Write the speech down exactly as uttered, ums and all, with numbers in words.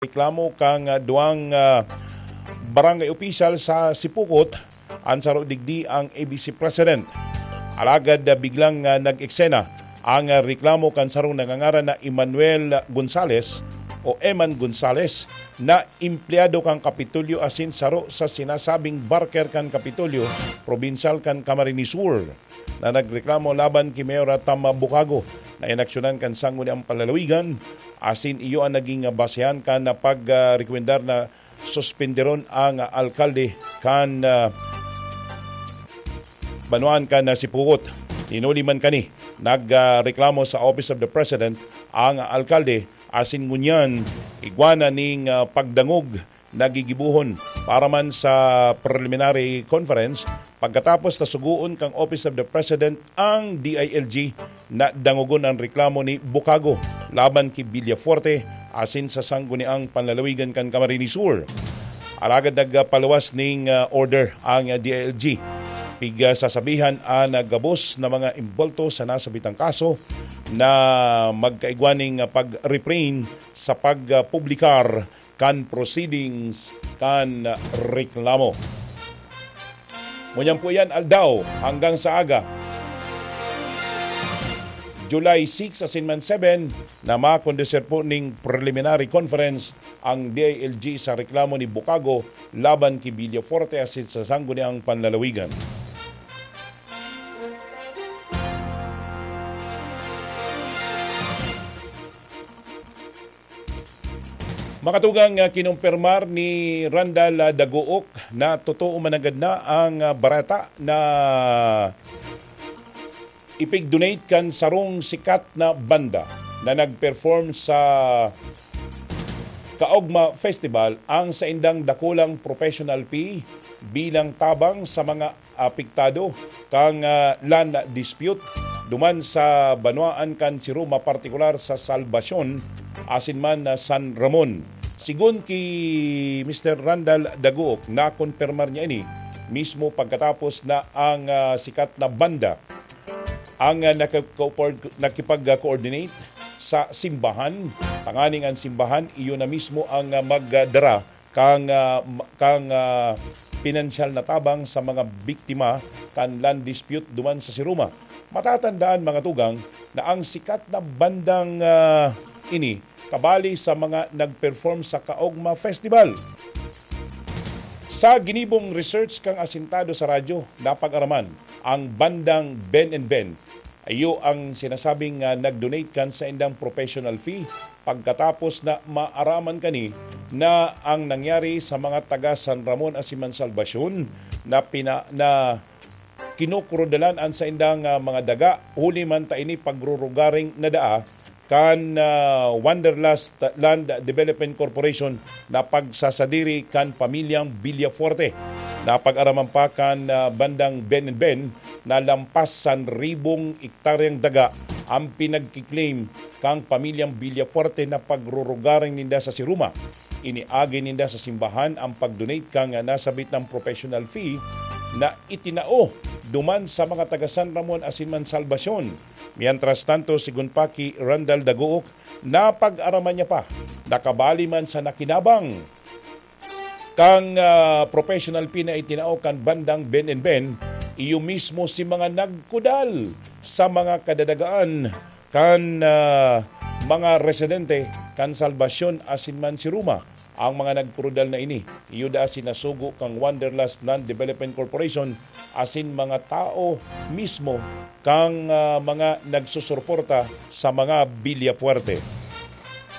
reklamo kan, ah, duwang, ah, barangay opisyal sa Sipukot, an saro digdi ang A B C president. Alagad, ah, biglang, ah, nag-eksena ang, ah, reklamo kan sarong nangangaran na Emmanuel Gonzales o Eman Gonzales na empleyado kan Kapitolyo asin saro sa sinasabing barker kan Kapitolyo, probinsyal kan Camarines Sur, na nagreklamo laban ki Mayor Tam Bukago na inaksyonan kan Sangguniang Panlalawigan, asin iyo an naging basehan kan pag, ah, rekomendar na suspenderon ang alkalde kan, ah, banwaan kan, ah, Sipukot. Hinuli man kani, nag, ah, reklamo sa Office of the President ang alkalde, asin ngunyan igwa na ning, ah, pagdangog na gigibohon para man sa preliminary conference pagkatapos na sugoon kan Office of the President ang D I L G na dangogon an reklamo ni Bukago laban ki Villafuerte asin sa Sangguniang Panlalawigan kan Camarines Sur. Alagad nagpaluwas ning, ah, order ang, ah, D I L G. Pigsasabihan an, ah, gabos na mga imbolto sa nasabitang kaso na magkaigwa ning, ah, pag-refrain sa pagpublikar kan proceedings kan reklamo. Ngunyan po yan, aldaw hanggang sa aga, July six asin man seven, na makondusir po ning preliminary conference ang D I L G sa reklamo ni Bukago laban ki Villafuerte asin sa Sangguniang Panlalawigan. Makatugang, ah, kinumpirmar ni Randal, ah, Daguok na totoo mananggad na ang, ah, bareta na ipig-donate kan sarong sikat na banda na nag-perform sa Kaogma Festival ang saindang dakulang professional fee bilang tabang sa mga apektado kan, ah, land dispute duman sa banwaan kan Siruma, partikular sa Salvacion asin man, ah, San Ramon. Sigon ki Mister Randal Daguok, nakonpirmar niya ini mismo pagkatapos na ang, ah, sikat na banda ang, ah, nakaka-, nakipag-coordinate sa simbahan, tanganing an simbahan iyo na mismo ang, ah, magdara kan, ah, ma-, kan, ah, pinansyal na tabang sa mga biktima kan land dispute duman sa Siruma. Matatandaan, mga tugang, na ang sikat na bandang, ah, ini kabali sa mga nag-perform sa Kaogma Festival. Sa ginibong research kan asintado sa radyo, napag-araman ang bandang Ben and Ben. Iyo ang sinasabing, ah, nag-donate kan saindang professional fee pagkatapos na maaraman kani na ang nangyari sa mga taga San Ramon asin man Salvacion na pina-, na kinukrudalan an saindang, ah, mga daga, huli man ta ini pagrurugaring nadaa kan, ah, Wanderlust Land Development Corporation na pagsasadiri kan pamilyang Villafuerte. Napag-araman pa kan, ah, bandang Ben and Ben na lampas san ribong ektaryang daga ang pinagki-claim kan pamilyang Villafuerte na pagrurugaring ninda sa Siruma. Iniagi ninda sa simbahan ang pag-donate kan nasabitang professional fee na itinao duman sa mga taga San Ramon asin man Salvacion. Mientras tanto, sigon pa ki Randal Daguok, napag-araman niya pa na kabali man sa nakinabang kan, ah, professional fee na itinao kan bandang Ben and Ben, iyo mismo si mga nagkudal sa mga kadadagaan kan, ah, mga residente kan Salvacion asin man Siruma. Ang mga nagkrudal na ini, iyo daa sinasugo kan Wanderlust Land Development Corporation asin mga tao mismo kan, ah, mga nagsusuporta sa mga Villafuerte.